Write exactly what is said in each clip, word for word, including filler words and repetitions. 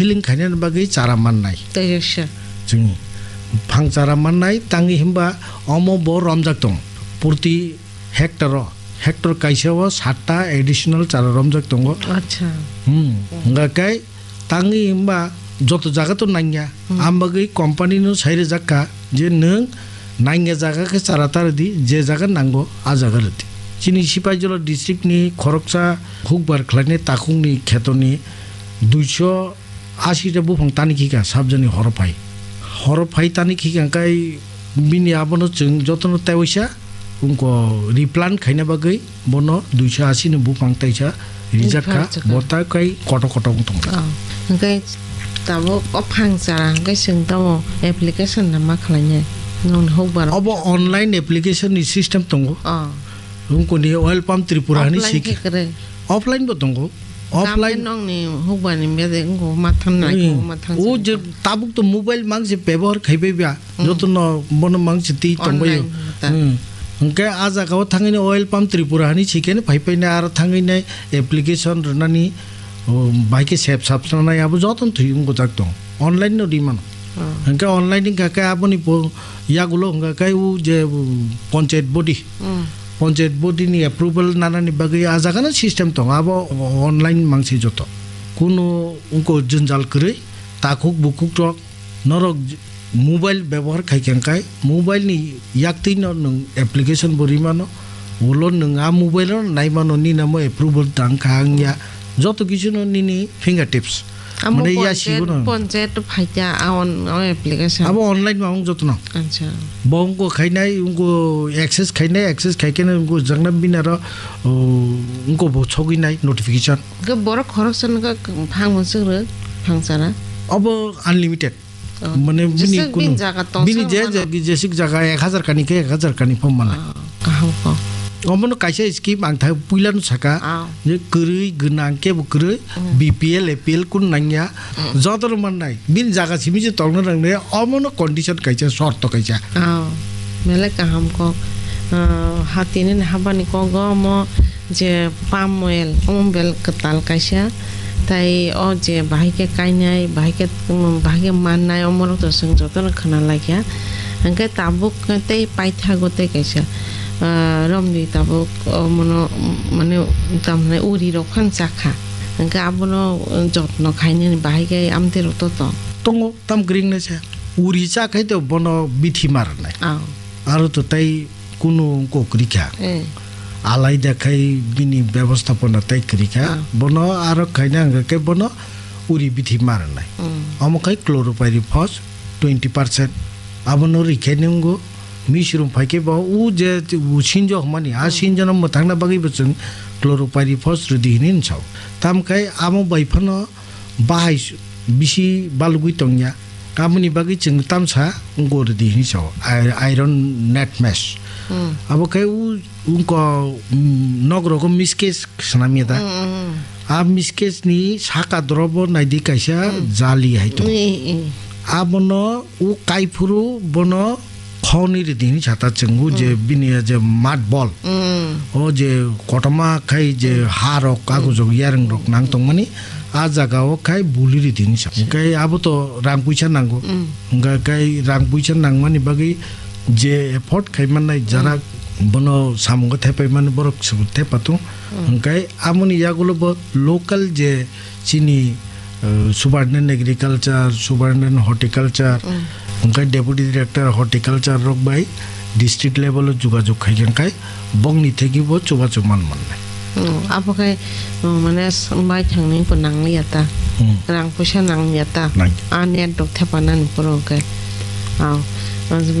Dealing khainani bagwi chara mannai. Tei se. Chwng phang chara mannai, tangwi himba omo bo romjak tong. Purti hectare o, hectare kaisa o satta additional chara romjak tongo. Acha. Hmm. Hwnkha khe tangwi himba joto jaga to nangya. Hmm. Am bagwi company no sai rwjak kha je nwng nangya jaga khe chara ta rwdi, je jaga nango a jaga rwdi. Chini Sipaijala district ni khoroksa hukbar khlainai takhuk ni kheto ni duiso asi ta buphang tani khika sabjani horo phai. Horo phai tani khika kai bini abono chwng jotono tewaisa wngko replant khaina bagwi bono duiso asi ni buphang taisa rijak kha. Rijak kha. Bo ta kai koto koto wng tong. Oh, hwnkhe tabuk o phang chara hwnkhe chwng tamo application na ma khlainai? Nwng hukbar. Obo online application ni system tongo. Oh. Wngkoni Oil Palm Tripura hani. Offline sik-, khe kwrwi? Offline bo tongo. Offline. Offline nongni hukbani bede wngkho mathang nai. Hmm. Kho mathang. O je tabuk to mobile mang se bebohar khaibai ba. Hmm. Joto no bono mang se twi tongbaio. Online ta. Hmm. Hwnkhe a jaga o thangwi no Oil Palm Tripura hani sikhe phai phai nai aro thangwi nai application rwnani, o, bai khe sep sap sanai abo joto no thwi wngkho jak tong. Online no ri mano. Oh. Hwnkhe online wngkha khe aboni bo yagulo hwnkha khe o je, o, panchayat body. Hmm. Panchayat body ni approval nanani bagwi a jaga no system tongo, abo online mangsi joto. Kuno wngko jwnjal kwrwi, takhuk bukhuk rok norok j-, mobile bebohar khai khe hwnkhe mobile ni yaktwi no nwng application bo ri mano, ulo nwng a mobile no nai mano nini amo approval tang kha wngya, joto kisu no nini fingertips. Amo mane ya panchayat, sigo no. Panchayat to phaikya, a on, o application. Abo online ma wng jotono. Acha. Bo wngko khainai, wngko access khainai, access khaikhe wngko jagna binaro, o, wngko bo sogwi nai notification. Ke borok khoroksa no khe phang bo swk rw, phang chara. Abo unlimited. Oh. Mane bini jeswk kunu, bini jaga tong bini sa je mano. Je, jeswk jaga ek hajar kani khe ek hajar kani pho mala. Ah. Kaham kok. Omono kaisa scheme ang thai puila no saka, ah, je kwrwi gwnang kebo kwrwi, mm, B P L, A P L kun nangya, mm, joto no mannai. Bini jaga simi je tongna nangnai, omono condition kaisa, shorto kaisa. Ah, belai kaham kok. Ah, hatini habani kogo omo je palm oil, omo bel kwtal kaisa. Tai o je bahai khe kainai, bahai khe, um, bahai khe mannai, omorok to chwng jotono khna laikha. Hwnkhe tabuk tei paithago tei kaisa, ah, romdi tabuk, omono, um, mane, tamhinai uri rok phano chakha. Hwnkhe abono, um, jotno khainani bahai khe amtwi rok to tong. Tongo, tam kwrwi wngnai se. Uri cha khai to bono bithi ma rwnai. Ah. Aro to tai kunu wngkok kwrwi kha. Eh. Alaida khai bini bebostapona tai kwrwi kha. Ah. Bono aro khaina hwnkha khe bono uri bithi ma rwnai. Mm. Omo khai chloropyrifos twenty percent. Abono rikhe nwngo misrum phai khe bo u je u sinjo hwnmani, a, mm, sinjono mwthangna bagwi bo chwng chloropyrifos rwdi hwnwi hwn sao. Tam khai amo bai phano bahai s-, bisi balugwi tongya. Aboni bagwi chwng tamsa wngko rwdi hwnwi sao, i-, iron net mesh. Hmm. Abo khe u-, wngko, mm, nok rogo miskes swnamya da. Hmm, hmm, hmm. A miskes ni saka drobo naidi kaisa, hmm, jali hai tongo. Hmm, hmm. Abono u kaiphuru bono khoni rwdi hwnwi sata chwng u je, hmm, bini ya je mud ball. Hmm. O je kotorma khai je, hmm, ha rok, hmm, kagujok yarwng rok nang tongmani, a jaga o khai buli rwdi hwnwi sa. Hwnkhe abo to rang puisa nango. Hmm. Hwnkhe khai rang puisa nangmani bagwi je effort khai mannai, hmm, jarak bono samungo thepai mani borok se thepa tung. Hmm. Hwnkhe amoni yagulo bo local je chini, uh, Superintendent Agriculture, Superintendent Horticulture, mm, hwnkhe Deputy Director Horticulture rok bai district level o jogajog khai khe khai bongni thegi bo chubachu man mannai. Mm, abo khe, mm, mane s-, bai thangni bo nangliya ta. Mm. Rang puisa nangliya ta. Nang. A net rok thepa nani phuru hwnkhe. Aw,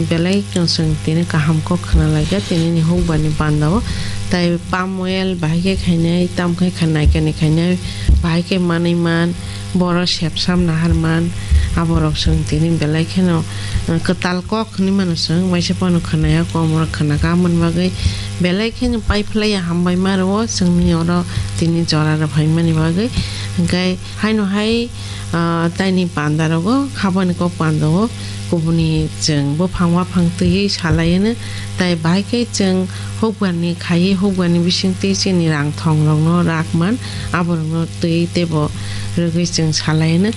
belai chwng tini kaham kok khna laikha tini ni hukbar ni panda o. Tai palm oil bahai khe khainai, tam khai kha naikani khainai, bahai khe manwi man, borok sepsam nahar man, aborok chwng tini belai kheno, uh, kwtal kok hwnwi mano chwng, waisa phano khwnaya, komoro khwnakha, aboni bagwi belai kheno paiphlaiya hambai ma rwo chwngni oro tini jora rw phaimani bagwi, hwnkhe haino hai, ah, taini panda rogo, habani kok panda o, kubuni chwng buphang waphang twiwi salaino, tai bahai khe chwng hukbarni khaiwi hukbarni bisingtwi chini rang thong rokno rakman, aborokno twi teibo rwgwi chwng salaino.